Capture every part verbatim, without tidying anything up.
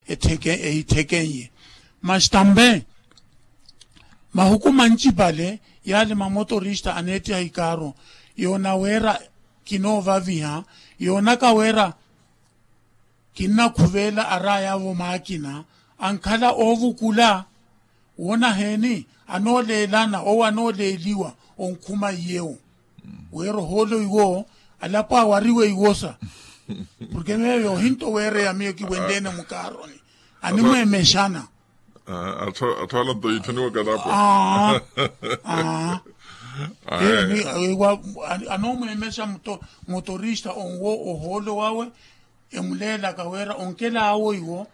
etthekenye. Mas tambe mahuku mancipale yaale mamotorista aneettiha ikaaro yoona weera kinoovaviha yoonaka weera kinnakhuveela araayavo maakina ankhala oovukula. Woona heeni anooleelana owo anooleeliwa onkhuma iyewo weera ohoolo iwo alapo awariwe iwosa. Porke meyo ohinto weereya miyo kiwenteene mukaaroni animweemexana. Atthu alanto yiithoniwa kalapo. Anomweemexa motorista onwo ohoolo wawe emuleelaka wira onkelaawo iwo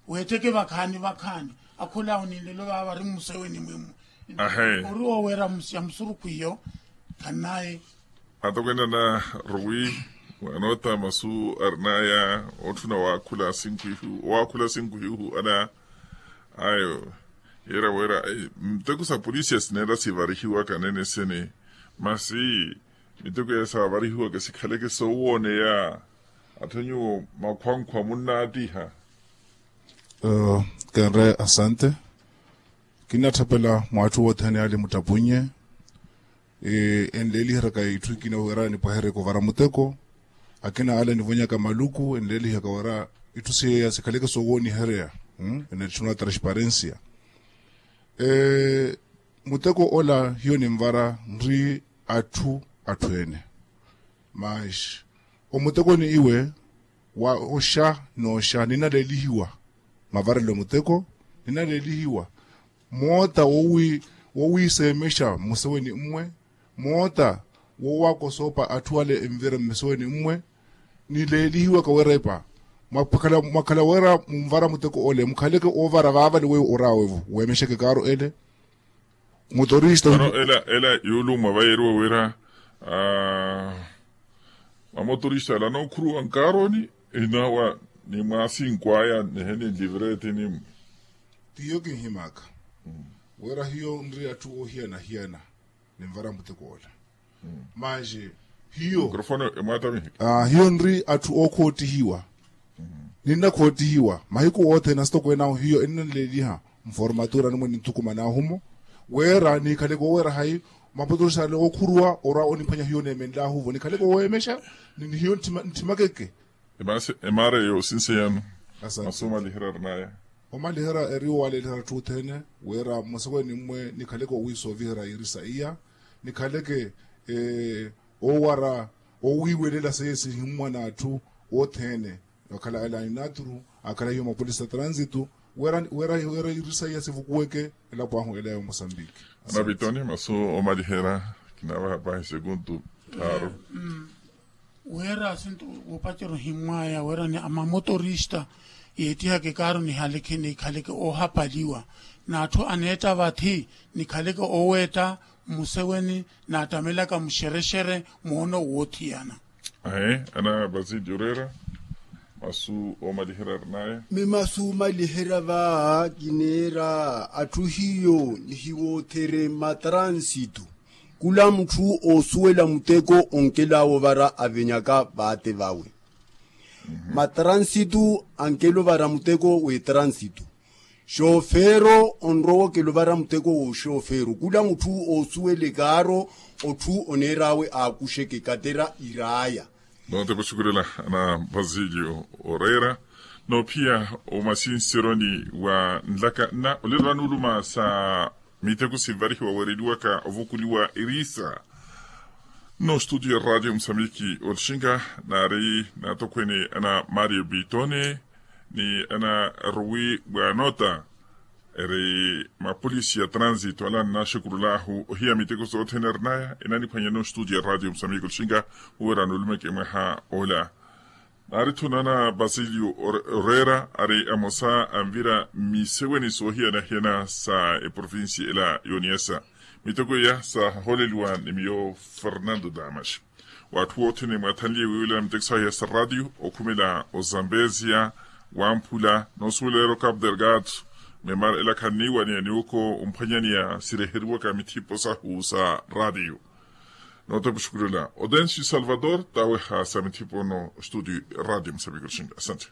weetheke vakhaani vakhaani. Akhulaawo ni nlelo vaava vari mmuseweni mwimu. Ori owo wira ya musurukhu iyo. Khanaye. Atokweene ana ruwi mwaanoota masu arinaya otthuna owaakhula sinkhu ihu owaakhula sinkhu ihu ana ayo. Yeera wira miteko sa polisiya sineera sivarihiwaka neene sene masi miteko ya saavarihiwaka sikhaleke soowooneya. Atthu nyuwo makhwankhwa munnaattiha. Kenre asante. Kinnatthapela mwaatthu wothene ale muttapunye enleeliheryaka itthu ikina wira nipwaheryeke ovara muteko. Akina ale anivonyaka maluku enleelihaka wira itthu seiya sikhaleke soowooniherya. Enetthuna transparensia. Muteko ola hiyo ninvara nri atthu atthu ene. Mas omutekoni iwe wa oxa n'oxa ninaleelihiwa. Mavarelo muteko ninaleelihiwa moota wowiiseemexa mmuseweni mmwe moota wowaakosoopa atthu ale envira mmuseweni mmwe. Nileelihiwaka werepa mwakhala wira munvara muteko ole mukhaleke oovara vaavale weiwo oraawevo weemexeke kaaro ele. Motorista ela ela yuulummwa vayeriwa wira mamotorista ala anookhuruwa nkaaroni inawa ni mwaasinkhu aya nihe ni nlivireti ni. Tiyo kinhimaka wira hiyo nri atthu oohiyana-hiyana ninvara muteko ola. Manje hiyo hiyo nri atthu ookhoottihiwa. Ninnakhottihiwa mahiku othene asitokweene ahu hiyo ennanleeliha mformatura nimwe ninthukuman'ahu mo wira nikhaleke oweera hayi mapotorisale ookhuruwa orwa oniphwanya hiyo neemenl'ahu-vo nikhaleke oweemexa ni hiyo ntthimakeke. Emara eyo sinse yano. Masu omaliherya arinaya. Omaliherya eri owaleeliherya atthu othene wira mmuseweni mmwe nikhaleke owiisooviherya irisa iya nikhaleke oowara owiiwelela seiye sihimmwa n'atthu othene. Akhala ela inaturu akhala hiyo mapolisi a transitu wira irisa iya sivukuweke elapo ahu ela ya omosambiki. Anavitoni masu omaliherya. Kinavaha pahi sekuntu thaaru. Wira asintu woopacerya ohimmwaya wira ni amamotorista yeettihaka ekaaro nihaleke nikhaleke oohapaliwa n'atthu aneetta vathi nikhaleke ooweetta mmuseweni n'attamelaka muxerexere moono woothiyana. Ahe ana basili oreera masu oomaliherya arinaya. Mi masu oomaliherya vaaha kineera atthu hiyo nihiwoothere matransitu. Khula mutthu oosuwela muteko onkelaawo ovara avenyaka vaate vawe matransitu ankela ovara muteko w'etransitu. Xofeero onrowa okela ovara muteko w'oxofeero khula mutthu oosuwela ekaaro otthu oneer'awe aakuxeke katera iraaya. Noota epuxukulela ana basilio oreera noophiya omasinseroni wa nlaka nna olelo anuuluma sa miteko sinvarihiwa weereliwaka ovukuliwa erisa. Nno ostudio ya radio musambiki olxinka naari naatokhwene ana mario bitone ni ana ruwi bwanota eri mapolisi ya transitu ala annaxukulul'ahu ohiya miteko sothene arinaya enaniphwanyana ostudio ya radio musambiki olxinka. Uwerani olumeke mwaha ola. Naari-tho nana basilio oreera ari amosa anvira mmiseweni soohiyana-hiyana sa eprovinsi ela y'oniasa. Miteko iya saaholeliwa ni miyo fernando damas. W'atthu wothene mwathanliye wiiwelana miteko saahiya sa ratio okhumela ozambesia wamphula noosuwelera okapu delgado. Memara ela khanniiwaniya ni oko omphwanyaniya sireheriwaka mithipo sahu sa ratio. Noota epuxukulela odensi salvador taweha sa mithipo no studio. Ratio musambiki olxinka asante.